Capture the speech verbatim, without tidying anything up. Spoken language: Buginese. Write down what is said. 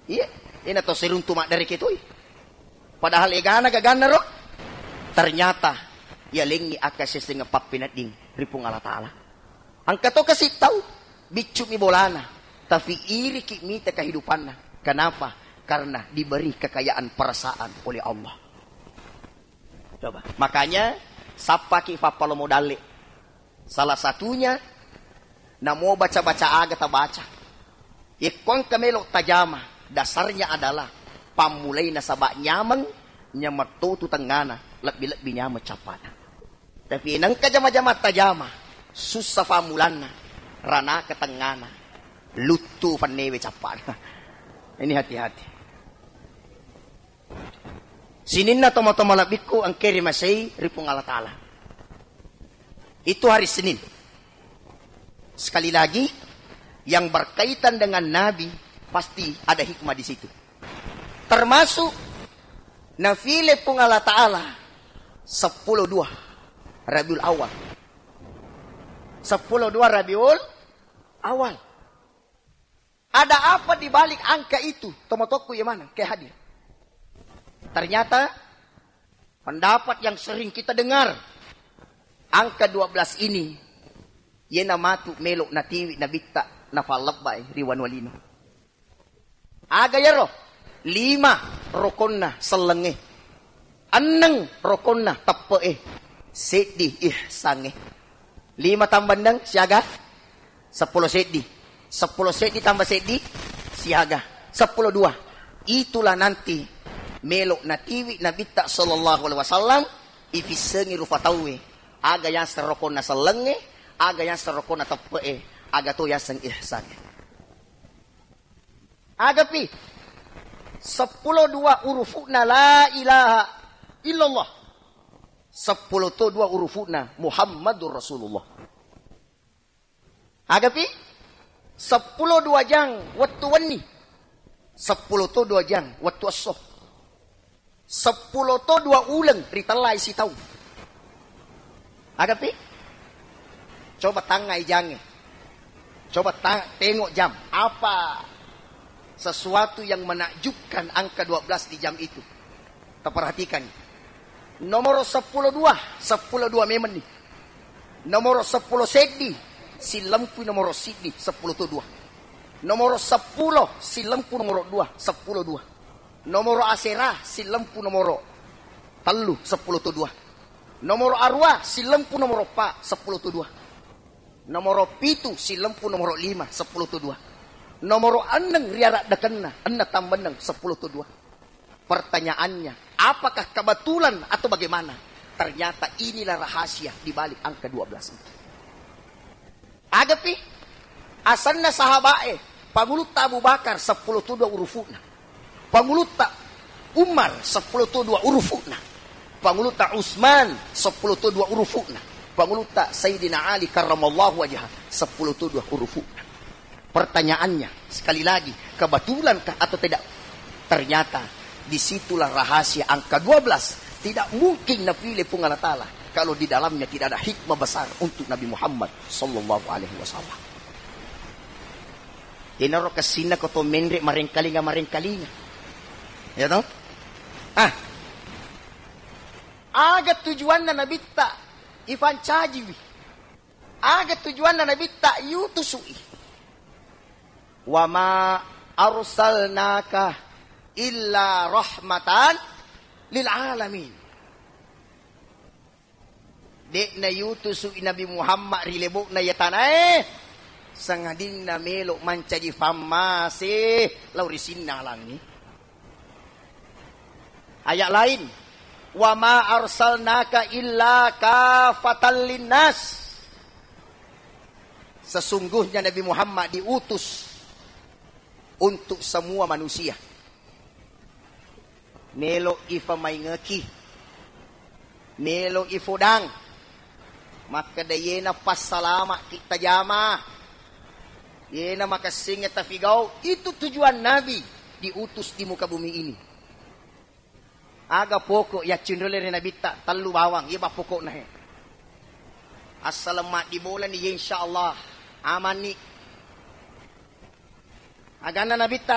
Iya, ena to siruntu maddareke toi. Padahal egana gaganna ro. Ternyata yalengngi akkassessengeng pappenedding ri Puang Allah Ta'ala. Engka to kasi tau, biccu'mi bolana, tapi iriki mita kehidupanna. Kenapa? Karena diberi kekayaan perasaan oleh Allah. Coba. Makanya, sappaki fappalomo dalle. Salah satunya, namo baca-baca aga tabaca. Yekko engka melo tajama, dasarnya adalah pammulai nasaba nyameng, nyameng totu tengngana, lebbi-lebbi nyameng cappana. Tapi nengka jama-jama tajama, sussa fammulanna, ranaka tengngana, luttu fannewe cappana. Ini hati-hati. Sininna tomatoa malebbiku engke rimasei ri Puang Allah Ta'ala. Itu hari Senin. Sekali lagi, yang berkaitan dengan Nabi, pasti ada hikmah di situ. Termasuk nafile Puang Allah Ta'ala sepuluh dua Rabiul Awal. Sepuluh dua Rabiul Awal. Ada apa di balik angka itu? Tomatoakku yang mana? Kayak hadir. Ternyata pendapat yang sering kita dengar, angka dua belas ini, yena matu melo natiwi nabitta nafallebbai ri wanua lino. Aga yaro? Lima rokonna sellengnge. Enneng rokonna teppe'e, seddi ihsangnge. Lima tambah enneng siaga? Seppulo seddi. Seppulo seddi tambah seddi siaga? Seppulo dua. Itulah nanti melo natiwi Nabitta sallallahu alaihi wasallam, ifissengi rufa tauwe. Aga yaseng rokonna sellengnge, aga yaseng rokonna teppe'e, aga to yaseng ihsangnge. Agapi, seppulo dua urufu'na la ilaha illallah. Seppulo to dua urufu'na Muhammadur Rasulullah. Agapi, seppulo dua jang wettu wenni. Seppulo to dua jang wettu esso. Seppulo to dua uleng ritellai sitaung. Agapi? Coba tangngai jangnge. Coba ta-, tengok jam. Apa sesuatu yang menakjubkan angka dua belas di jam itu? Taperhatikan. Nomoro seppulo dua, seppulo dua memenni. Nomoro seppulo seddi, sillempu nomoro siddi, seppulo to dua. Nomoro seppulo, sillempu nomoro dua, seppulo dua. Nomoro asera, sillempu nomoro tellu, seppulo to dua. Nomoro arua, sillempu nomoro pa, seppulo to dua. Nomoro pitu, sillempu nomoro lima, seppulo to dua. Nomoro enneng riaraddekenna, enneng tambah enneng, seppulo to dua. Pertanyaannya, apakah kebetulan atau bagaimana? Ternyata inilah rahasia di balik angka dua belas itu. Agapi, asenna sahaba'e, Pangulutta Abu Bakar seppulo to dua urufu'na. Pangulutta Umar seppulo to dua urufu'na. Pangulutta Utsman seppulo to dua urufu'na. Pangulutta Sayyidina Ali karramallahu wajhah seppulo to dua urufu'na. Pertanyaannya, sekali lagi, kebetulankah atau tidak? Ternyata disitulah rahasia angka dua belas. Tidak mungkin napilih Puang Allah Ta'ala kalau di dalamnya tidak ada hikmah besar untuk Nabi Muhammad sallallahu alaihi wasallam. Inaro kessinna ko to menre marengkalinga-marengkalinga. Ya toh? Ah. Aga tujuanna Nabitta ifancajiwi? Aga tujuanna Nabitta yutusu'i? "Wa ma arsalnaka illa rahmatan lil alamin." De'na yutusu'i Nabi Muhammad ri lebo'na iya tanae, sangadinna melo mancaji fammase lao ri sininna alangnge. Ayat lain, "Wa ma arsalnaka illa kafatan linnas." Sesungguhnya Nabi Muhammad diutus untuk semua manusia. Melo ifamaingeki, melo ifodang, makkeda yena passalama'ki tajama, yena makessingnge tafigau, itu tujuan Nabi diutus di muka bumi ini. Aga pokok yaccinrole ri Nabitta? Tellu bawang, iya ba pokokna he. Assaleng maddibolani, ya insyaallah amanni. Aganna Nabitta